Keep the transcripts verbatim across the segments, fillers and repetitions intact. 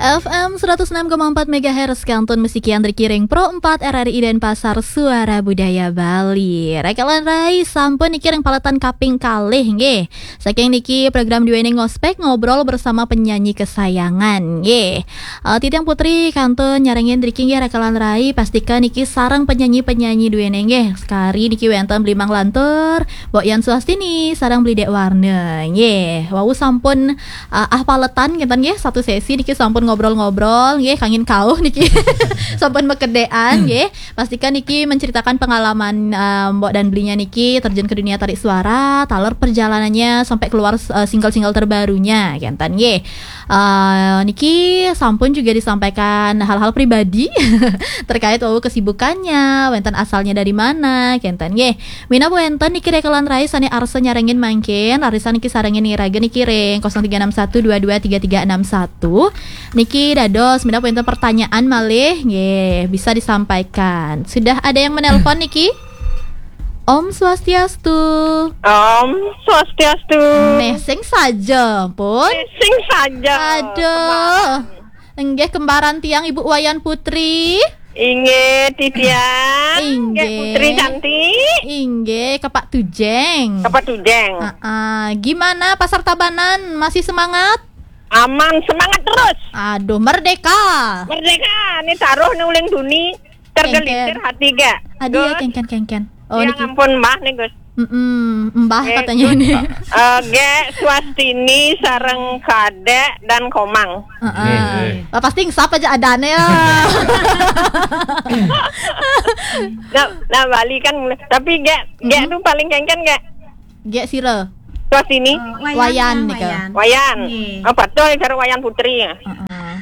F M seratus enam koma empat megahertz, kantun masikian ring Pro empat R R I Denpasar, Suara Budaya Bali. Rakalan rai, sampun niki ring paletan kaping kalih nggih. Saking niki program duene ngospek, ngobrol bersama penyanyi kesayangan nggih. Eh, Titiang Putri kantun nyarengin driki nggih, rakalan rai, pastika niki sareng penyanyi-penyanyi duene nggih. Sekari niki wenten Bli Mang Lantur, Mbok Yan Suastini, sareng Bli Dek Warna nggih. Wau sampun ah, ah paletan ngenten nggih, satu sesi niki sampun ngobrol-ngobrol nggih, kangin kauh niki. Sampun makedean nggih. Pastikan niki menceritakan pengalaman, ah, Mbok dan Blinya niki terjun ke dunia tarik suara, taler perjalanannya sampai keluar, eh, single-single terbarunya ngenten nggih. Eh, niki sampun juga disampaikan hal-hal pribadi terkait wau kesibukannya, wenten asalnya dari mana ngenten nggih. Minab wenten niki rakalan rai sane arsa nyarengin mangkin, arisan niki sarengin ngiraga niki ring kosong tiga enam satu dua dua tiga tiga enam satu. Niki dados, minab wenten pertanyaan malih, nggih, bisa disampaikan. Sudah ada yang menelpon niki? Om Swastiastu. Om Swastiastu. Neh, sing saja, pun. Eh, sing saja. Aduh. Kembaran. Nggih, kembaran tiang Ibu Wayan Putri. Inggih, titiang. Inggih. Nggih, Putri cantik. Inggih, Kepak Tujeng. Kepak Tujeng. Ah, ah. Gimana Pasar Tabanan? Masih semangat? Aman, semangat terus. Aduh, merdeka. Merdeka, ni taruh ni uling duni, tergelincir hati gak. Aduh, ya, Gus. Kengken, kengken. Oh, ya niki. Ampun, Mbah nih, Gus. Mm-mm, Mbah eh, katanya Gus, ini. Eh, Gek, Swastini, sareng Kadek, dan Komang. Heeh. Nggih, nggih. Lah, pasti ngesap aja adane ya. Nah, nah, Bali kan, tapi Gek, Gek tuh paling kengken, Gek. Gek sira. Swastini. Eh, Wayan, Wayan, nika. Wayan. Wayan. Nggih. Apa tuh cara Wayan Putri ya? Heeh.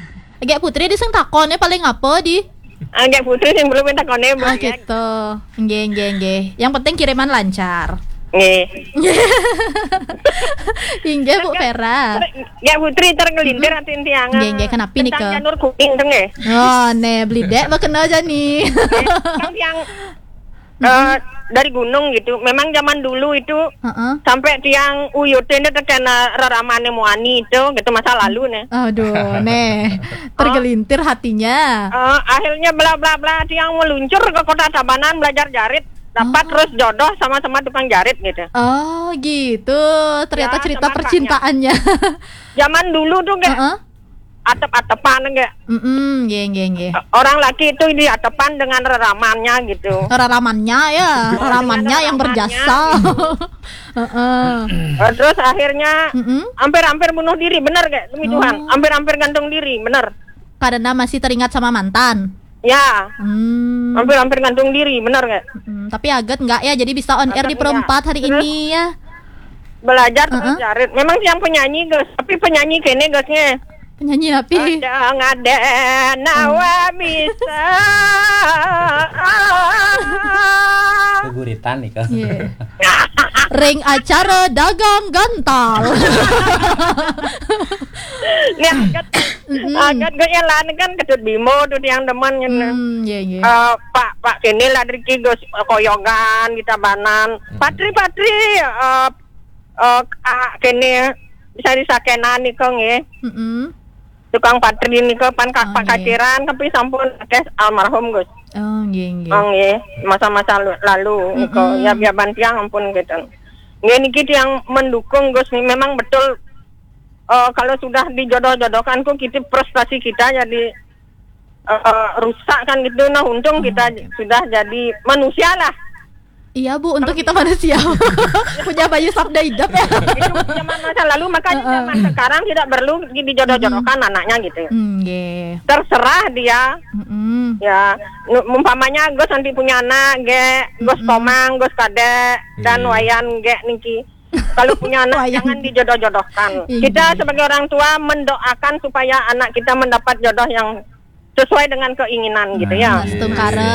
Gek Putri di sing takone paling apa di? Ah, Gek Putri sing belum takone, Bu, ah, ya. Gitu. Nggih, nggih, nggih. Yang penting kiriman lancar. Nggih. Inggih, Bu Vera. Gek Putri tergelintir atin tiang. Nggih, nggih, kenapi nika? Tentang janur kuning tuh nggih. Oh, ne, Bli Dek, lo kena aja nih. Nggih, tentang tiang eh, dari gunung gitu. Memang zaman dulu itu heeh. Sampai tiang uyutin itu terkena reramane muani itu gitu, masa lalu nih. Aduh, neh. Tergelintir hatinya. Eh, akhirnya bla bla bla tiang meluncur ke Kota Tabanan belajar jarit. Dapat terus jodoh sama-sama tukang jarit gitu. Oh, gitu. Ternyata ya, cerita percintaannya. Zaman dulu tuh kayak heeh. Atep-atepan enggak? Mm-mm, nggih, nggih, nggih. Orang laki itu diatepan dengan reramannya gitu. Reramannya ya, reramannya yang berjasa. Heeh. Eh, terus akhirnya hampir-hampir bunuh diri, benar gak? Demi Tuhan, hampir-hampir gantung diri, benar. Karena masih teringat sama mantan. Ya. Hmm. Hampir-hampir gantung diri, benar gak? Mm, tapi aget enggak ya, jadi bisa on air di Pro empat hari ini ya. Belajar terus jarit. Memang tiang penyanyi, Gus, tapi penyanyi kene, Gus, nge. Penyanyi apa? Ada ngade nawa bisa. Guguritan nih, Kak. Iya. Ring acara dagang gantal. Nih, agat, agat gue yang lain kan Ketut Bimo tuh yang demen gitu. Hmm, iya, iya. Eh, Pak, Pak kene lah driki, Gus, koyogan, kita banan. Patri, Patri, eh, eh, ah, kene bisa disakenan nika nggih. Mm-mm. Tukang Patri nika pan ka-, oh, Pak nggih. Kaciran tapi sampun akeh almarhum, Gus. Oh, nggih, nggih. Oh, nggih. Masa-masa lu-, lalu nika. Mm-mm. Ya, ya, ban tiang ampun gitu. Nggih, niki tiang mendukung, Gus, nih. Memang betul, eh, kalau sudah dijodoh-jodohkan ku, kita, prestasi kita jadi eh, rusak kan gitu. Nah, untung kita sudah jadi manusia lah. Iya, Bu, untung kita manusia. Punya baju sabda hidup ya. Itu zaman masa lalu, makanya zaman sekarang tidak perlu di-, dijodoh-jodohkan anaknya gitu. Hmm, nggih. Terserah dia. Mm-mm. Ya, nu-, umpamanya Gus nanti punya anak, Gek, Gus Komang, Gus Kadek, dan Wayan, Gek, niki. Kalau punya anak, jangan dijodoh-jodohkan. Iya. Kita sebagai orang tua mendoakan supaya anak kita mendapat jodoh yang sesuai dengan keinginan gitu ya. Nah, astungkara.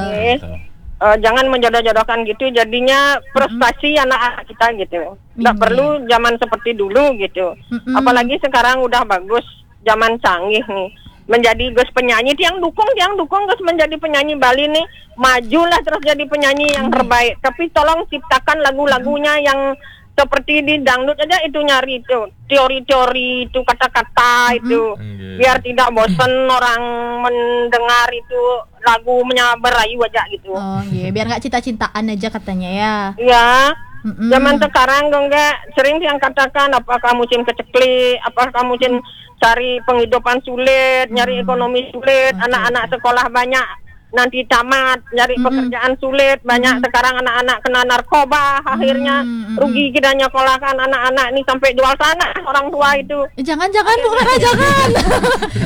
Oke. Eh, jangan menjodoh-jodohkan gitu, jadinya frustasi anak-anak kita gitu. Nggak perlu zaman seperti dulu gitu. Mm-mm. Apalagi sekarang udah bagus, zaman canggih nih. Menjadi Gus penyanyi, tiang dukung, tiang dukung Gus menjadi penyanyi Bali nih. Majulah terus jadi penyanyi yang terbaik. Tapi tolong ciptakan lagu-lagunya yang seperti di dangdut aja itu nyari itu teori-teori itu kata-kata itu. Biar tidak bosan orang mendengar itu lagunya berayu aja gitu. Oh, iya, biar nggak cinta-cintaan aja katanya ya. Ya, Mm-mm. zaman sekarang dong nggak sering yang katakan apakah musim keceklik, apakah musim cari penghidupan sulit, nyari ekonomi sulit, anak-anak sekolah banyak nanti tamat, nyari pekerjaan sulit, banyak sekarang anak-anak kena narkoba, akhirnya Mm-mm. rugi kita nyekolahkan anak-anak ini sampai jual tanah orang tua itu. Eh, jangan-jangan Bu Vera, jangan.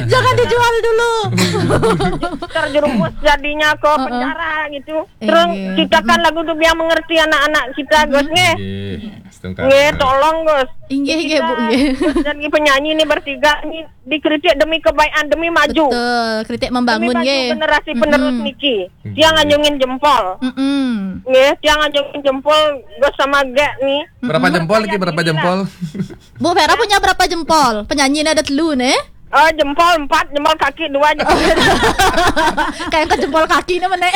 Jangan dijual dulu. Terjerumus jadinya ke penjara gitu. Terus Iya. Ciptakan lagu tuh biar mengerti anak-anak kita, Gus, nggih. Nggih, setengah. Nggih, tolong, Gus. Inggih, inggih, Bu, Kita nggih. Gus jadi penyanyi ini bertiga ini dikritik demi kebaikan, demi maju. Betul, kritik Demi membangun maju nggih. Generasi penerus niki. Tiang anjungin jempol. Mm-mm. Nggih, tiang anjungin jempol Gus sama Gek nih. Berapa jempol lagi? Berapa jempol? Bu Vera punya berapa jempol? Penyanyi ini ada telu nih. Oh, jempol empat, jempol kaki dua, jempol, Kayak ke jempol kaki nih menek.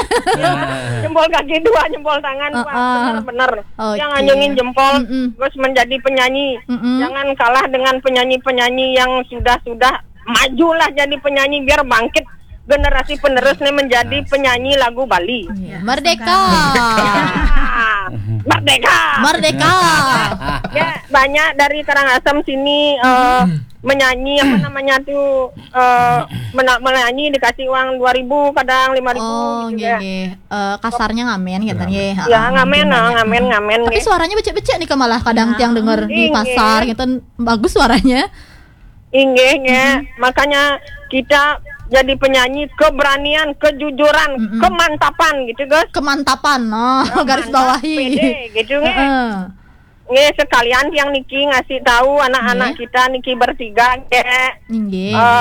Jempol kaki dua, jempol tangan, Pak. Heeh. Bener-bener. Oke. Yang anjungin jempol, Mm-mm. Gus menjadi penyanyi. Mm-mm. Jangan kalah dengan penyanyi-penyanyi yang sudah-sudah, majulah jadi penyanyi biar bangkit generasi penerus nih menjadi penyanyi lagu Bali. Iya, Merdeka. Ah, merdeka. Merdeka. Ya, banyak dari Karangasem sini eh, menyanyi apa namanya tuh eh, mena- menyanyi dikasih uang dua ribu, kadang lima ribu Oh, gitu nggih, ya. Nggih. Eh, kasarnya ngamen katanya. Ya, ngamen, ah, ngamen, ngamen. Tapi Nggih. Suaranya becek-becek nih, malah kadang tiang denger di Inggih. Pasar gitu, bagus suaranya. Inggih, nggih. Makanya kita jadi penyanyi keberanian, kejujuran, kemantapan gitu, Gus. Kemantapan, oh, garis bawahi. Pede gitu, nggih. Heeh. Nggih, sekalian tiang niki ngasih tahu anak-anak Nggih. Kita niki bertiga, nggih. Nggih. Eh,